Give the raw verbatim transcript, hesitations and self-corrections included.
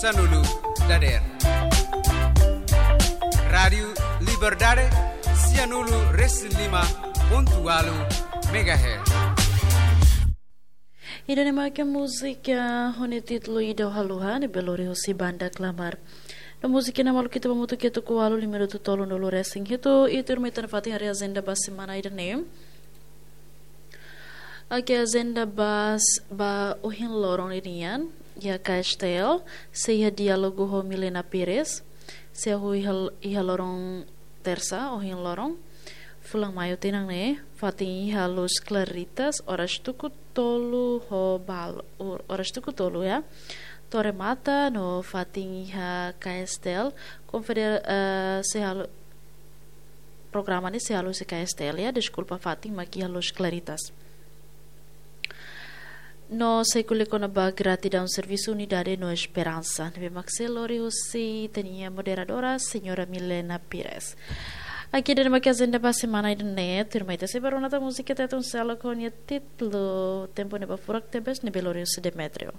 Sianulu dader. Rádiu Liberdade, sianulu resin lima pontu ualu megahertz. Ida-ne'e mak múzika ho nia títulu Ida Haluha, ne'ebé lori husi banda Klamar. No múzika ne'e maluk ita ba hamutuk iha tuku ualu, lima minutu tolunulu resin hitu, i tuirmai ita foti haree ajenda ba semana ida-ne'e. Oke, ajenda ba s-, ba ohin loron ninian, iha K S T L, sei iha diálogu ho Milena Pires, sei hahú iha, iha loron tersa, ohin loron, fulan Maiu tinan ne'e, fatin iha Los Claritas, oras tuku tolu ho bal-, or-, oras tuku tolu ya. To'o remata no fatin iha K S T L, konfeder-, eh, sei halo, programa ne'e sei halo husi K S T L ya, deskulpa, fatin mak iha Los Claritas. No sei ko'alia kona-ba gratidaun servisu, unidade no esperansa. Ne'ebé mak sei lori husi ita-nia moderadora, señora Milena Pires. Oke, ida-ne'e mak ajenda ba semana ida-ne'e, tuirmai ita sei bá rona tan múzika Tetun Seluk ho nia títulu Tempu Ne'ebé Furak Tebes, ne'ebé lori husi Demetrio.